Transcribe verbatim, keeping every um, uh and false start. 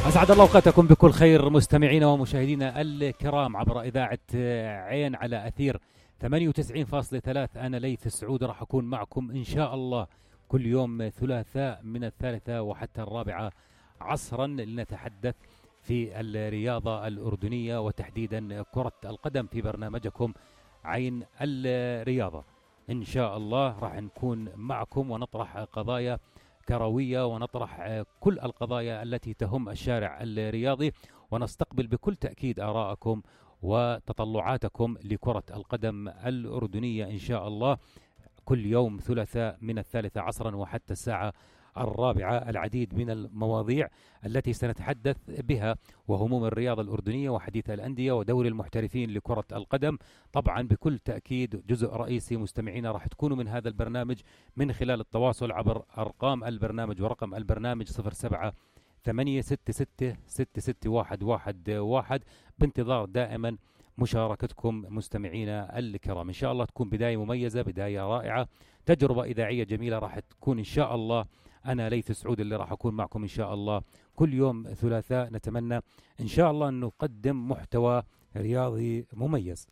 أسعد الله أوقاتكم بكل خير مستمعينا ومشاهدينا الكرام عبر إذاعة عين على أثير ثمانية وتسعين فاصلة ثلاثة. أنا ليث السعود راح أكون معكم إن شاء الله كل يوم ثلاثاء من الثالثة وحتى الرابعة عصرا لنتحدث في الرياضة الأردنية وتحديدا كرة القدم في برنامجكم عين الرياضة. إن شاء الله راح نكون معكم ونطرح قضايا كروية ونطرح كل القضايا التي تهم الشارع الرياضي ونستقبل بكل تأكيد آراءكم وتطلعاتكم لكرة القدم الأردنية إن شاء الله كل يوم ثلاثاء من الثالثة عصرا وحتى الساعة الرابعة. العديد من المواضيع التي سنتحدث بها وهموم الرياضة الأردنية وحديث الأندية ودور المحترفين لكرة القدم. طبعا بكل تأكيد جزء رئيسي مستمعينا راح تكونوا من هذا البرنامج من خلال التواصل عبر أرقام البرنامج ورقم البرنامج صفر سبعة ثمانية ستة ستة ستة ستة واحد واحد واحد. بانتظار دائما مشاركتكم مستمعينا الكرام. إن شاء الله تكون بداية مميزة، بداية رائعة، تجربة إذاعية جميلة راح تكون إن شاء الله. أنا ليث السعود اللي راح أكون معكم إن شاء الله كل يوم ثلاثاء. نتمنى إن شاء الله أن نقدم محتوى رياضي مميز.